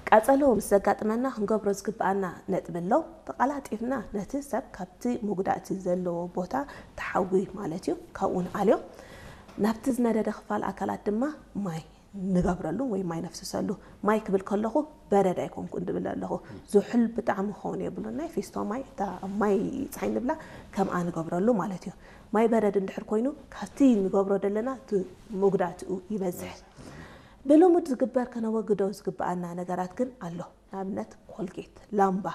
ቃጸሎ ምስ ዘጋጥመና ክንገብሮ ዝግብኣና ነጥቢ ኣሎ። ተቓላጢፍና ነቲ ሰብ ካብቲ መጉዳእቲ ዘለዎ ቦታ ተሓዊ ማለት እዩ፣ ካብኡ ንኣልዮ። ናብቲ ዝነደደ ክፋል ኣካላት ድማ ማይ ንገብረሉ ወይ ማይ ነፍስሰሉ። ማይ ክብል ከለኹ በረድ ኣይኮንኩን ድብል ኣለኹ። ዝሑል ብጣዕሚ ክኸውን የብሉን። ናይ ፊስቶ ማይ፣ እታ ማይ ጸሓይ ንብላ፣ ከምኣ ንገብረሉ ማለት እዩ። ማይ በረድ እንድሕር ኮይኑ ካብቲ ንገብሮ ዘለና እቲ መጉዳእትኡ ይበዝሕ። ብልሙድ ዝግበር ከነወግዶ ዝግብኣና ነገራት ግን ኣሎ። ንኣብነት ኮልጌት፣ ላምባ፣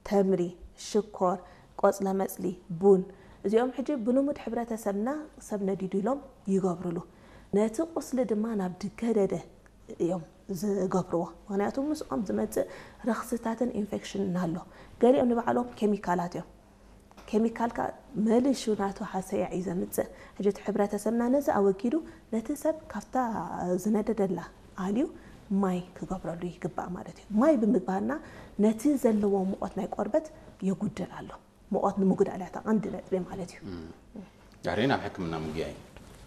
ተምሪ፣ ሽኮር፣ ቆጽለ መጽሊ፣ ቡን፣ እዚኦም ሕጂ ብልሙድ ሕብረተሰብና ሰብ ነዲዱ ኢሎም ይገብርሉ። ነቲ ቁስሊ ድማ ናብ ድገደደ እዮም ዝገብርዎ። ምክንያቱ ምስኦም ዝመጽእ ረኽስታትን ኢንፌክሽንን ኣሎ። ገሊኦም ንባዕሎም ኬሚካላት እዮም። ኬሚካል ከኣ መሊሹ ናቱ ሃሰያ እዩ ዘምጽእ። ሕጂ እቲ ሕብረተሰብና ነዚ ኣወጊዱ ነቲ ሰብ ካብታ ዝነደደላ ኣልዩ ማይ ክገብረሉ ይግባእ ማለት እዩ። ማይ ብምግባርና ነቲ ዘለዎ ሙቐት ናይ ቆርበት የጉድል ኣሎ። ሙቐት ንምጉዳል እያ እታ ቀንዲ ነጥቢ ማለት እዩ። ድሕሪ ናብ ሕክምና ምጉያይ።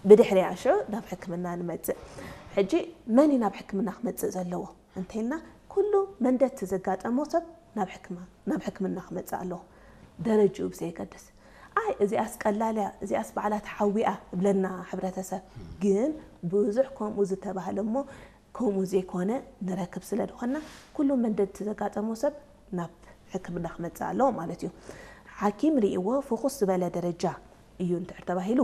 ብድሕሪኣ ሽዑ ናብ ሕክምና ንመጽእ። ሕጂ መን እዩ ናብ ሕክምና ክመጽእ ዘለዎ እንተልና፣ ኩሉ መንደቲ ዘጋጠሞ ሰብ ናብ ሕክማ ናብ ሕክምና ክመጽእ ኣለዎ፣ ደረጅኡ ብዘየገድስ። ኣይ እዚኣስ ቀላል እያ፣ እዚኣስ ባዕላ ተሓዊኣ እብለና ሕብረተሰብ። ግን ብዙሕ ከምኡ ዝተባህለ እሞ ከምኡ ዘይኮነ ንረክብ ስለ ዝኾንና፣ ኩሉ መንደቲ ዘጋጠሞ ሰብ ናብ ሕክምና ክመጽእ ኣለዎ ማለት እዩ። ሓኪም ርእይዎ ፍኹስ ዝበለ ደረጃ እዩ እንድሕር ተባሂሉ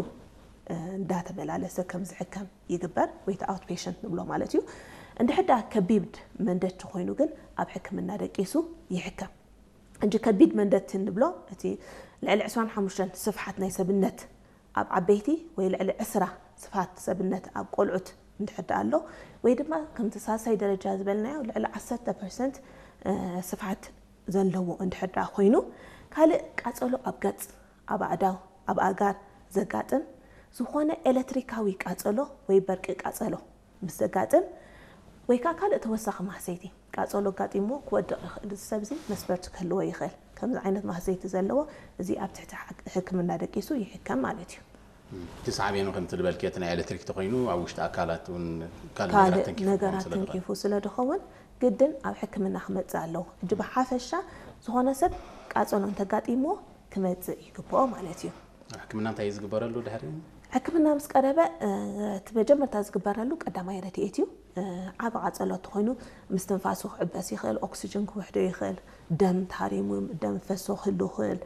እንዳተመላለሰ ከም ዝሕከም ይግበር፣ ወይ ኣውት ፔሸንት ንብሎ ማለት እዩ። እንድሕር ደኣ ከቢድ መንደቲ ኮይኑ ግን ኣብ ሕክምና ደቂሱ ይሕከም። እንጂ ከቢድ መንደቲ እንብሎ እቲ ልዕሊ ዕስራን ሓሙሽተን ስፍሓት ናይ ሰብነት ኣብ ዓበይቲ ወይ ልዕሊ ዕስራ ስፍሓት ሰብነት ኣብ ቆልዑት እንድሕር ደኣ ኣሎ፣ ወይ ድማ ከምቲ ሳልሳይ ደረጃ ዝበልናዮ ልዕሊ ዓሰርተ ፐርሰንት ስፍሓት ዘለዎ እንድሕር ደኣ ኮይኑ፣ ካልእ ቃጸሎ ኣብ ገጽ፣ ኣብ ኣእዳው፣ ኣብ ኣእጋር ዘጋጥም ዝኾነ ኤለትሪካዊ ቃጸሎ ወይ በርቂ ቃጸሎ ምስ ዘጋጥም፣ ወይ ከዓ ካልእ ተወሳኺ ማህሰይቲ ቃጸሎ ኣጋጢምዎ ክወድቕ ይኽእል። እዚ ሰብ እዚ መስበርቲ ክህልዎ ይኽእል። ከምዚ ዓይነት ማህሰይቲ ዘለዎ እዚ ኣብ ትሕቲ ሕክምና ደቂሱ ይሕከም ማለት እዩ። እቲ ሳዕቤኑ ከምቲ ዝበልክዮ እቲ ናይ ኤሌክትሪክ ተኮይኑ ኣብ ውሽጢ ኣካላት እውን ካልእ ነገራት ካልእ ተንኪፉ ክኸውን ነገራት ስለ ዝኽእል። ተንኪፉ ስለ ዝኸውን ግድን ኣብ ሕክምና ክመጽእ ኣለዎ። ሕጂ ብሓፈሻ ዝኾነ ሰብ ቃጸሎ እንተጋጢምዎ ክመጽእ ይግብኦ ማለት እዩ። ሕክምና እንታይ እዩ ዝግበረሉ ድሕሪ? ሕክምና ምስ ቀረበ እቲ መጀመርታ ዝግበረሉ ቀዳማይ ረድኤት እዩ። ዓቢ ቃጸሎ እንተኾይኑ ምስትንፋሱ ክዕበስ ይኽእል፣ ኦክስጅን ክውሕዶ ይኽእል፣ ደም ተሃሪሙ ደም ፈሶ ክህሉ ይኽእል።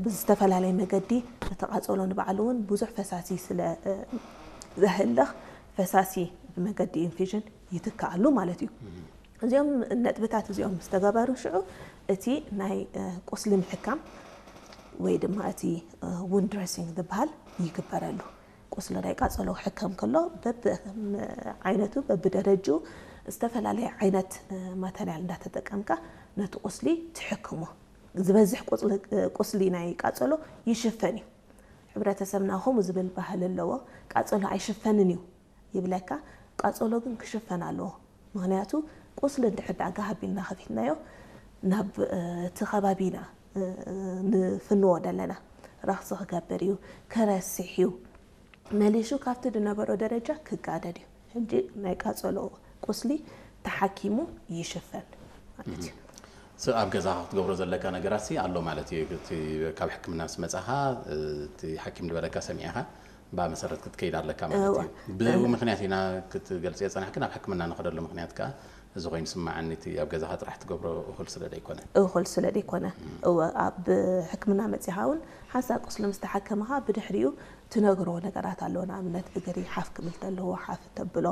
ብዝተፈላለየ መገዲ እቲ ቃጸሎ ንባዕሉ እውን ብዙሕ ፈሳሲ ስለ ዘህልኽ ፈሳሲ ብመገዲ ኢንፊዥን ይትክኣሉ ማለት እዩ። እዚኦም ነጥብታት እዚኦም ምስ ተገበሩ ሽዑ እቲ ናይ ቁስሊ ምሕካም ወይ ድማ እቲ ውንድ ድረሲንግ ዝበሃል ይግበረሉ። ቁስሊ ናይ ቃጸሎ ክሕከም ከሎ በብዓይነቱ በብደረጅኡ ዝተፈላለየ ዓይነት ማተርያል እንዳተጠቀምካ ነቲ ቁስሊ ትሕክሞ። ዝበዝሕ ቁስሊ ናይ ቃጸሎ ይሽፈን እዩ። ሕብረተሰብና ከምኡ ዝብል ባህሊ ኣለዎ። ቃጸሎ ኣይሽፈንን እዩ ይብለካ። ቃጸሎ ግን ክሽፈን ኣለዎ። ምክንያቱ ቁስሊ እንድሕር ደኣ ጋህብ ኢልና ከፊትናዮ ናብ እቲ ከባቢና ንፍንዎ ዘለና ረኽሲ ክገብር እዩ፣ ክረስሕ እዩ፣ መሊሹ ካብቲ ዝነበሮ ደረጃ ክጋደድ እዩ። ሕጂ ናይ ቃጸሎ ቁስሊ ተሓኪሙ ይሽፈን ማለት እዩ። ኣብ ገዛኻ ክትገብሮ ዘለካ ነገራት ኣሎ ማለት እዩ። ካብ ሕክምና ምስ መጻኻ እቲ ሓኪም ዝበለካ ሰሚዕኻ ብኣ መሰረት ክትከይድ ኣለካ ማለት እዩ። ብኡ ምክንያት ኢና ክትገልጽ የጸናሕኪ ናብ ሕክምና ንኸደሉ ምክንያት ከኣ እዚ ኮይኑ ስማዓኒ እቲ ኣብ ገዛኻ ጥራሕ ትገብሮ እኹል ስለ ዘይኮነ። እኹል ስለ ዘይኮነ። እወ ኣብ ሕክምና መጺኻ እውን ሓንሳብ ቁስሊ ምስ ተሓከምኻ ብድሕሪኡ ትነግሮ ነገራት ኣሎ። ንኣብነት እግሪ ሓፍ ክብል ተለዎ ሓፍ ተብሎ፣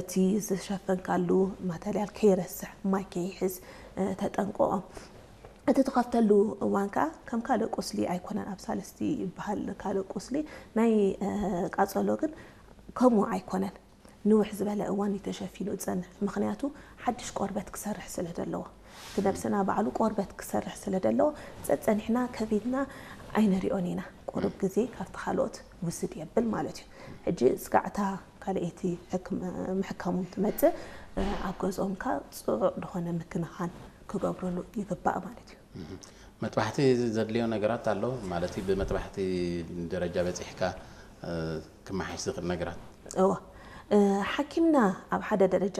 እቲ ዝሸፈንካሉ ማተርያል ከይረስሕ ማይ ከይሕዝ ተጠንቀቖ። እቲ ትኸፍተሉ እዋን ከኣ ከም ካልእ ቁስሊ ኣይኮነን። ኣብ ሳልስቲ ይበሃል ካልእ ቁስሊ። ናይ ቃጸሎ ግን ከምኡ ኣይኮነን። ንውሕ ዝበለ እዋን እዩ ተሸፊኑ ዝጸንሕ። ምኽንያቱ ሓድሽ ቆርበት ክሰርሕ ስለ ዘለዎ። እቲ ነብስና ባዕሉ ቆርበት ክሰርሕ ስለ ዘለዎ ጸጸኒሕና ከቢድና ኣይንሪኦን ኢና። ቁሩብ ግዜ ካብቲ ካልኦት ውስድ የብል ማለት እዩ። ሕጂ ስጋዕታ ካልኣይቲ ሕክም- ምሕካሙ ትመጽእ ኣብ ገዝኦም ከኣ ጽዑቕ ዝኾነ ምክንኻን ክገብርሉ ይግባእ ማለት እዩ። መጥባሕቲ ዘድልዮ ነገራት ኣሎ ማለት እዩ። ብመጥባሕቲ ደረጃ በጺሕካ ክመሓሽ ዝኽእል ነገራት። እወ ሓኪምና ኣብ ሓደ ደረጃ